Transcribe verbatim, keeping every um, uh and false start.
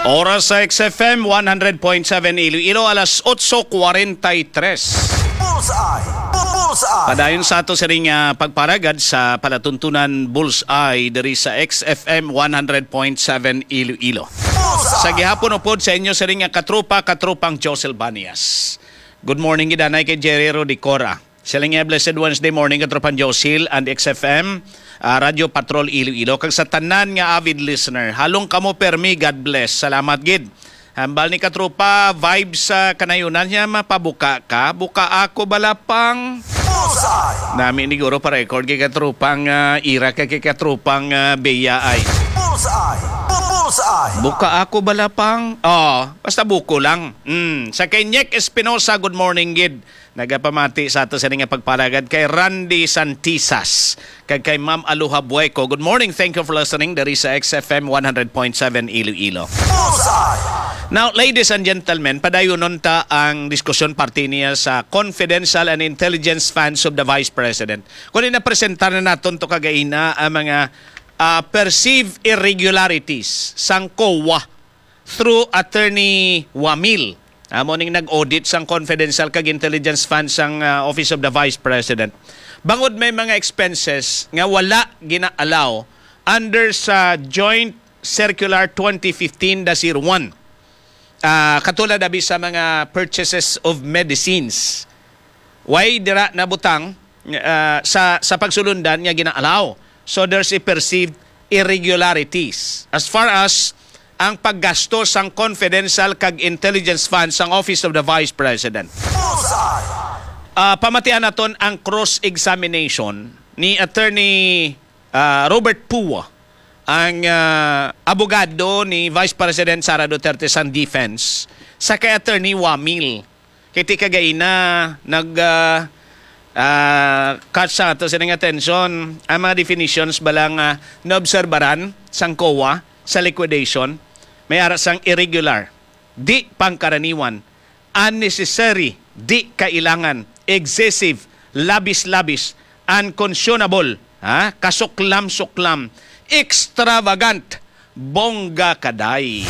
Oras sa X F M one hundred point seven Iloilo, alas otso kwarenta y tres. Bullseye! Bu- Bullseye! Padayon sa ato sining, ah, pagparagad sa palatuntunan Bullseye diri sa X F M one hundred point seven Iloilo. Bullseye! Sa gihapon upod sa inyo sining nga katropa, katropang Josel Banias. Good morning gid anay kay Jerry Rodicora. Siling nga blessed Wednesday morning, Katropang Josil and X F M, ah, Radio Patrol Iloilo. Kag sa tanan nga avid listener, halong kamo permi, God bless. Salamat gid. Hambal ni Katropa, vibes sa kanayunan niya, mapabuka ka. Buka ako balapang. Bullseye! Nami ni Guro pa record kay Katropang, ah, Ira kay, kay Katropang, ah, Bea ay. Bullseye! Bu- Bullseye! Buka ako balapang. Oh, basta buko lang. Mm. Sa kay Nick Espinosa, good morning gid. Nagapamati sa ato sa nga pagparagad kay Randy Santisas kag kay Ma'am Aloha Bueco. Good morning. Thank you for listening diri sa X F M one hundred point seven Iloilo. Bullseye! Now, ladies and gentlemen, padayunon ta ang diskusyon parte niya sa confidential and intelligence funds of the Vice President. Kung napresentar na naton to kagaina ang mga, ah, perceived irregularities sang COA through Attorney Wamil. Amo ning nag-audit sang confidential kag intelligence fund sang, ah, Office of the Vice President. Bangod may mga expenses nga wala gina-allow under sa Joint Circular twenty fifteen dash zero one. Ah, katulad abi sa mga purchases of medicines. Why dira nabutang, ah, sa, sa pagsulundan nga gina-allow? So there's a perceived irregularities as far as ang paggasto sang confidential kag intelligence fund sang Office of the Vice President. Bullseye! Ah, pamatian naton ang cross-examination ni Attorney, ah, Robert Pua, ang, ah, abogado ni Vice President Sara Duterte sang defense sa kay Attorney Wamil. Kay ti kagaina nag, ah, ah, catch sa ato sining atensyon ang mga definitions bala nga naobserbaran sang COA sa liquidation, may ara sang irregular, di pangkaraniwan, unnecessary, di kailangan, excessive, labis-labis, unconscionable, ha? Kasuklam-suklam, extravagant, bongga kaday.